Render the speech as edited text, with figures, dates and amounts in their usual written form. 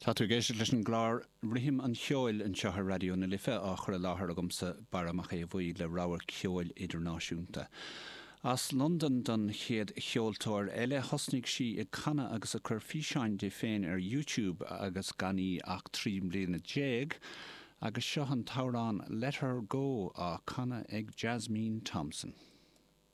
Tá tú ag éisteacht leis an gclár Rithim an Cheoil anseo ar Raidió na Life, á chur i láthair agamsa, Barra Mac Aodha Bhuí, le rogha ceoil idirnáisiúnta. As Londain don chéad cheoltóir eile, thosnaigh sí ag canadh agus ag cur físeáin di féin ar YouTube agus gan í ach 13 mbliana, agus seo an t-amhrán Let Her Go á canadh ag Jasmine Thompson.